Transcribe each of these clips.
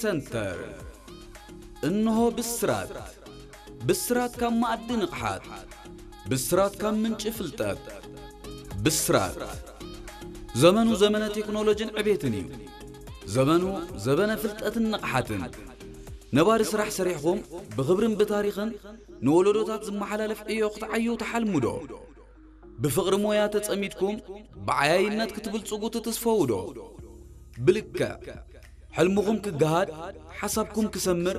ሰንተር። እንሆ ብስራት። ብስራት ካብ መኣዲ ንቕሓት። ብስራት ካብ ምንጪ ፍልጠት። ብስራት። ዘመኑ ዘመነ ቴክኖሎጂን ዕቤትን እዩ። ዘመኑ ዘበነ ፍልጠትን ንቕሓትን። ነባሪ ስራሕ ሰሪሕኹም ብኽብርን ብታሪኽን ንወለዶታት ዝመሓላለፍ ዕዮ ክትዓዩ ትሓልሙ ዶ? ብፍቕሪ ሞያ ተጸሚድኩም ብዓያይነት ክትብልጽጉ ትትስፈዉ ዶ? ብልክዕ፣ ሕልምኹም ክገሃድ፣ ሓሳብኩም ክሰምር፣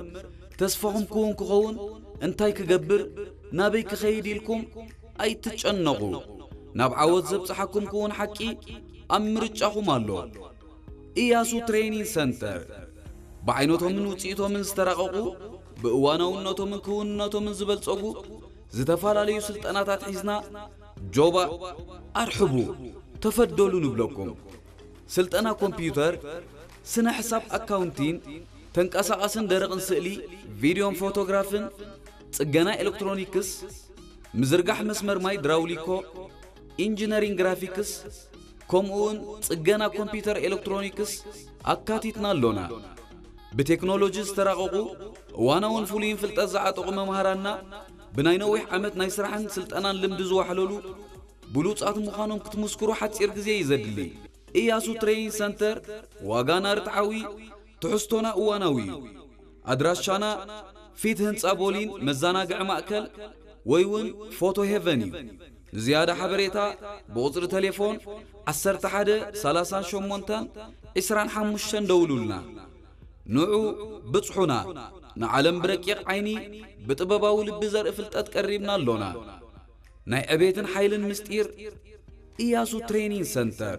ተስፋኹም ክውን ክኸውን፣ እንታይ ክገብር፣ ናበይ ክኸይድ ኢልኩም ኣይትጨነቑ። ናብ ዓወት ዘብጽሓኩም ክውን ሓቂ ኣብ ምርጫኹም ኣሎ። ኢያሱ ትሬኒንግ ሰንተር፣ ብዓይነቶምን ውጽኢቶምን ዝተራቐቑ፣ ብእዋናውነቶምን ክውንነቶምን ዝበልጸጉ ዝተፈላለዩ ስልጠናታት ሒዝና፣ ጆባ ኣርሕቡ፣ ተፈደሉ ንብለኩም። ስልጠና ኮምፒውተር፣ ስነ ሕሳብ፣ ኣካውንቲን፣ ተንቀሳቓስን ደረቕን ስእሊ፣ ቪድዮን ፎቶግራፍን፣ ጽገና ኤሌክትሮኒክስ፣ ምዝርጋሕ መስመር ማይ ድራውሊኮ፣ ኢንጂነሪንግ ግራፊክስ፣ ከምኡውን ጽገና ኮምፒውተር ኤሌክትሮኒክስ ኣካቲትና ኣሎና። ብቴክኖሎጂ ዝተራቐቑ፣ እዋናውን ፍሉይን ፍልጠት ዝዓጠቑ መምሃራንና፣ ብናይ ነዊሕ ዓመት ናይ ስራሕን ስልጠናን ልምዲ ዝዋሕለሉ ብሉጻት ምዃኖም ክትምስክሩ ሓጺር ግዜ እዩ ዘድሊ። ኢያሱ ትሬኒንግ ሰንተር፣ ዋጋና ርትዓዊ፣ ትሕዝቶና እዋናዊ እዩ። ኣድራሻና ፊት ህንጻ ቦሊን መዘናግዒ ማእከል ወይ እውን ፎቶ ሄቨን እዩ። ንዝያዳ ሓበሬታ ብቑጽሪ ቴሌፎን ዓሰርተ ሓደ ሰላሳን ሸሞንተን ዕስራን ሓሙሽተን ደውሉልና። ንዑ ብጽሑና። ንዓለም ብረቂቕ ዓይኒ፣ ብጥበባዊ ልቢ ዘርኢ ፍልጠት ቀሪብና ኣሎና። ናይ ዕቤትን ሓይልን ምስጢር፣ ኢያሱ ትሬኒንግ ሰንተር።